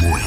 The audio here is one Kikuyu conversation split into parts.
1.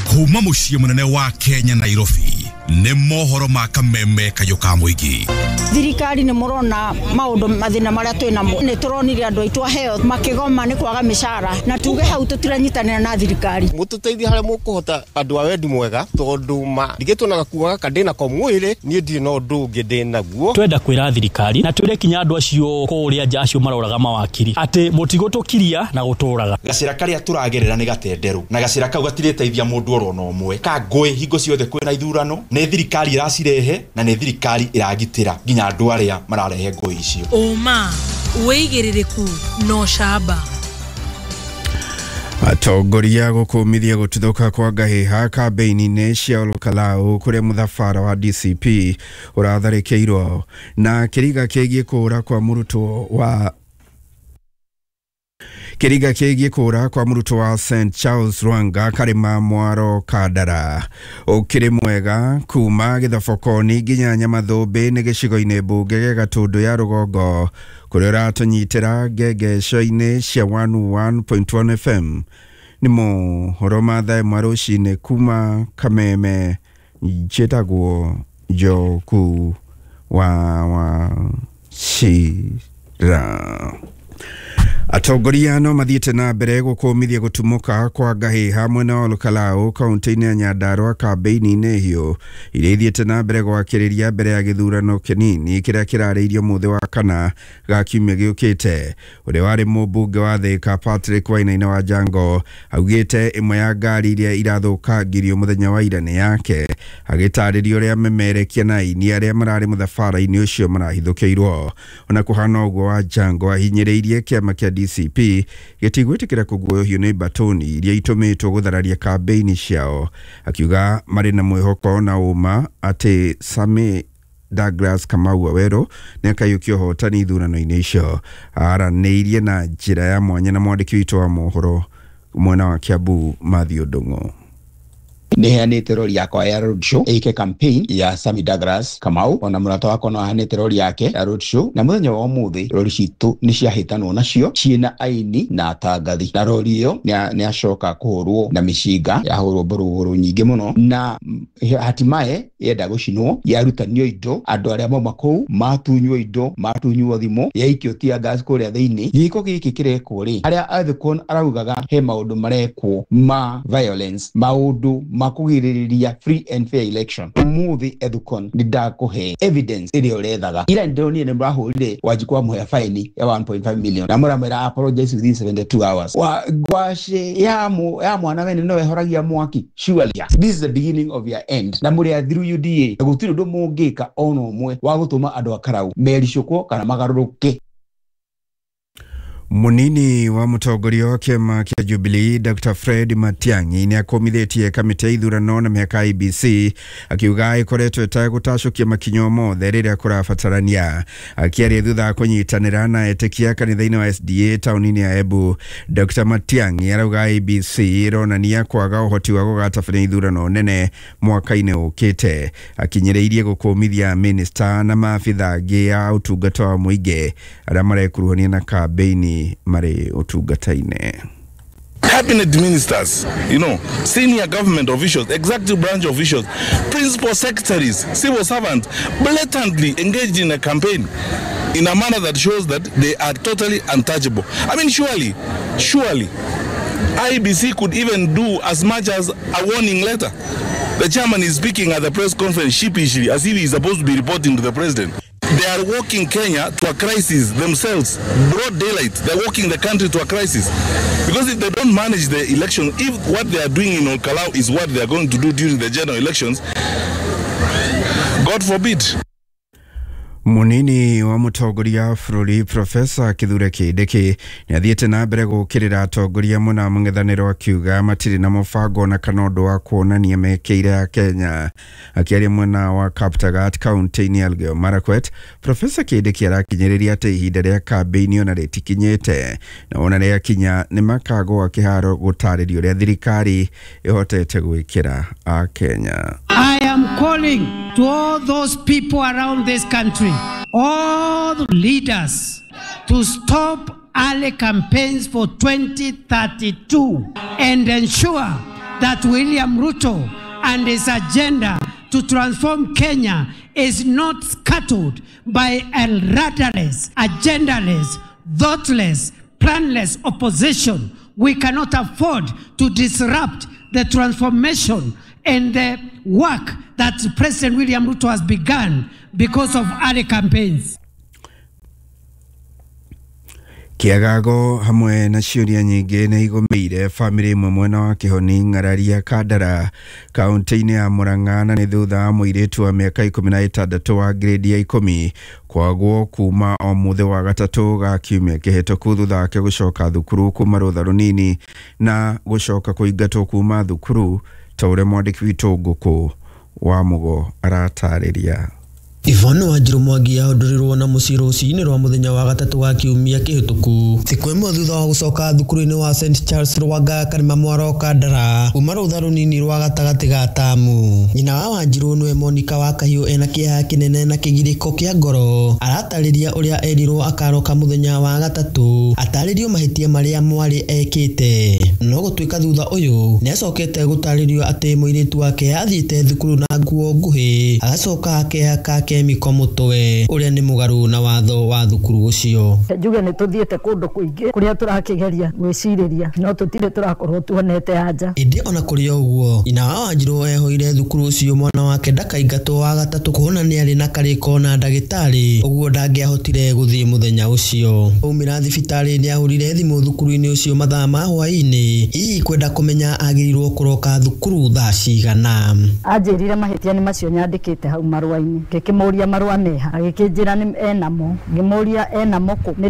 Kuma muciĩ mũnene wa Kenya Nairobi nĩ mohoro ma kameme kayũ ka mũingĩ. Thirikari nĩ mũrona maũndũ mathĩna marĩa twĩ namo, nĩ tũronire andũ aitũ a health makĩgoma nĩ kwaga mĩcara, na tuge hau tũtiranyitanĩra na thirikari. Mũtũteithie harĩa mũkũhota andũ a wendi mwega, tondũ ma ndigĩtwo na gakuo gaka ndĩ nako mwĩrĩ, niĩ ndirĩ na ũndũ ũngĩ ndĩ naguo. Twenda kwĩra thirikari na twĩre kinya andũ acio kũrĩa nja acio maroraga mawakiri atĩ mũtigũtũkiria na gũtũraga. Gacĩra karĩa tũragerera nĩ gatenderũ, na gacĩra kau gatirĩteithia mũndũ oro na ũmwe. Ka ngũĩ hingo ciothe kwĩna ithurano, nĩ thirikari ĩracirehe na nĩ thirikari ĩragitĩra nginya andũ arĩa mararehe ngũĩ icio. Ũma, wĩigĩrĩrĩku na ũcamba. Atongoria gũkũmithia gũtuthũka kwa ngahĩha kambĩini-inĩ cia Olkalau kũrĩa mũthabara wa DCP ũratharĩkĩirwo, na kĩriga kĩgiĩ kũũra kwa mũrutwo wa kĩriga kĩgiĩ kũũra kwa mũrutwo wa St Charles Rwanga Karĩma Mwaro Kandara. Ũkĩrĩ mwega kuma Gĩthobokoni nginya Nyamathũmbĩ nĩ gĩcigo-inĩ mbunge gĩa Gatũndũ ya rũgongo kũrĩa ũratũnyitĩra ngengeco-inĩ cia 101.1 FM. Nĩ mohoro ma thaa ĩmwe rũcinĩ kuma Kameme. Njĩtagwo Njoku wa Wachira. Atongoria no mathiĩte na mbere gũkũmithia gũtumũka kwa ngahĩha mwena wa Olkalau kaunti-inĩ ya Nyandarua kambĩini-inĩ hiũ iria ithiĩte na mbere gwakĩrĩria mbere ya gĩthurano kĩnini kĩrĩa kĩrarĩirio mũthĩ wa kana ga kiumia gĩũkĩte. Ũrĩa warĩ mũmbunge wa Thĩka Patrick Wainaina wa Jango augĩte ĩmwe ya ngari iria irathũkangirio mũthenya wa ira nĩ yake, agĩtarĩria ũrĩa memerekia na aini arĩa mararĩ mũthabara-inĩ ũcio marahithũkĩirwo. Ona kũhana ũguo, wa Jango ahinyĩrĩirie kĩama kĩa DCP gĩtigwĩtĩkĩra kũguoyohio nĩ mbatoni iria itũmĩtwo gũthararia kambĩini ciao, akiuga marĩ na mwĩhoko na ũma atĩ Sami Douglas Kamau Waweru nĩ akaiyũkia ũhotani ithurano-inĩ icio. Aranĩirie na njĩra ya mwanya na mwandĩki witũ wa mohoro mwena wa Kiambu Matthew Ndung'u. Nĩheanĩte rori yakwa ya road show ĩke campaign ya Sami Douglas Kamau, ona mũrata wakwa no aheanĩte rori yake ya road show, na mũthenya wa ũmũthĩ rori citũ nĩ ciahĩtanwo nacio ciĩna aini na atangathi, na rori ĩyo nĩ acoka kũhũrwo na mĩcinga, yahũrwo mborogoro nyingĩ mũno, na hatimaye yenda gũcinwo, yarutanio indo, andũ arĩa mauma kũu matunywo indo, matunywo thimũ, yaikio tear gas kũrĩa thĩinĩ. Gĩko gĩkĩ kĩrekwo rĩ, harĩa Ethicon araugaga he maũndũ marekwo ma violence, maũndũ ma kũgirĩrĩria free and fair election. Ũmũthĩ Ethicon nĩ ndakũhe evidence ĩrĩa ũrethaga. Ira nĩndĩronire nĩ mũrahũrire Wanjikũ amũhe faini ya 1.5 million na mũramwĩra apologize within 72 hours. Wa ngwacĩ ya mwana wene no ĩhoragia mwaki. Surely this is the beginning of your end. Na mũrĩ athiru UDA, na gũtirĩ ũndũ mũngĩka ona ũmwe wa gũtũma andũ a Karau mericũkwo kana magarũrũke. Munini wa mũtongoria wa kĩama kĩa Jubilee Dr. Fred Matiang'i nĩ akũmithĩtie kamĩtĩ ya ithurano na mĩhaka IEBC akiuga ĩkoretwo ĩtegũtacũkia makinya mothe rĩrĩa kũrabatarania. Akĩaria thutha wa kũnyitanĩra na etĩkia kanitha-inĩ wa SDA taũni-inĩ ya Embu, Dr. Matiang'i arauga IEBC ĩronania kwaga ũhoti wa gũgatabania ithurano nene mwaka-inĩ ũkĩte. Akinyĩrĩirie gũkũmithia minista na maabitha angĩ a ũtungata wa mũingĩ arĩa marekuruhania na kambĩini marĩ ũtungata-inĩ. Cabinet ministers, senior government officials, executive branch officials, principal secretaries, civil servants, blatantly engaged in a campaign in a manner that shows that they are totally untouchable. I mean, surely, IEBC could even do as much as a warning letter. The chairman is speaking at the press conference sheepishly, as if he is supposed to be reporting to the president. They are walking Kenya to a crisis themselves, broad daylight. They're walking the country to a crisis. Because if they don't manage the election, if what they are doing in Olkalau is what they are going to do during the general elections, God forbid. Munini wa mũtongoria wa bũrũri Profesa Kithure Kindiki nĩ athiĩte na mbere gũũkĩrĩra atongoria mũna mũng'ethanĩro akiuga matirĩ na mũbango na kana ũndũ wa kuonania mekĩire ya Kenya. Akĩaria mwena wa Kaptagat kaunti-inĩ ya Elgeyo Marakwet, Profesa Kindiki arakinyĩrĩria atĩ ihinda rĩa kambĩini ona rĩtikinyĩte na ona rĩakinya nĩ makagũa kĩharo gũtarĩria ũrĩa thirikari ĩhotete gwĩkĩra Akenya. I am calling to all those people around this country, all the leaders, to stop early campaigns for 2032 and ensure that William Ruto and his agenda to transform Kenya is not scattered by a rudderless, agendaless, thoughtless, planless opposition. We cannot afford to disrupt the transformation and the work that President William Ruto has begun because of early campaigns. Kĩagago hamwe na ciũria nyingĩ nĩ igũmĩire bamĩrĩ ĩmwe mwena wa Kĩhoni Ng'araria Kandara kaunti-inĩ ya Murang'a na nĩ thutha wa mũirĩtu wa mĩaka 16 wa grade ya 10 kwagwo kuma o mũthĩ wa gatatũ ga kiumia kĩhĩtũku thutha wake gũcoka thukuru kuma rũtha rũnini na gũcoka kũingatwo kuma thukuru ta ũrĩa mwandĩki witũ Ngũkũ wa Mũgo aratarĩria. Yvonne Wanjiru Mwangi ahũndũrirwo na mũciĩ rũcinĩ rwa mũthenya wa gatatũ wa kiumia kĩhĩtũku thikũ ĩmwe thutha wa gũcoka thukuru-inĩ wa St Charles Rwanga Karima Mwaro Kandara kuma rũtha rũnini rwa gatagatĩ ga tamu. Nyina wa Wanjiru nĩwe Monica wa Kahiũ ena kĩeha kĩnene na kĩgirĩko kĩa ngoro aratarĩria ũrĩa erirwo akaroka mũthenya wa gatatũ atarĩrio mahĩtia marĩa mwarĩ ekĩte no gũtuĩka thutha ũyũ nĩacokete gũtarĩrio atĩ mũirĩtu wake athiĩte thukuru na nguo nguhĩ agacoka akehaka kemiko mutwe uria ni mugaru na watho wa thukuru ucio. Njuge ni tuthiete kundu kuingi kuria turakigeria gwiciriria no tutire turakorwo tuonete anja. Indi ona kuri uguo nyina wa Wanjiru ehoire thukuru ucio mwana wake ndakaingatwo wa gatatũ kuona ni ari na kariko na ndagitari uguo ndangĩahotire guthii muthenya ucio. Aumira thibitari ni ahurire thimu thukuru-inĩ ucio mathaa ma hwaĩ-inĩ hihi kwenda kumenya agĩrĩirwo kũroka thukuru thaa cigana. Anjĩrire mahĩtia nĩ macio nyandĩkĩte hau marũa-inĩ ngĩkĩmũria marũa meha agĩkĩnjĩra nĩ enamo ngĩmũria enamo kũ nĩ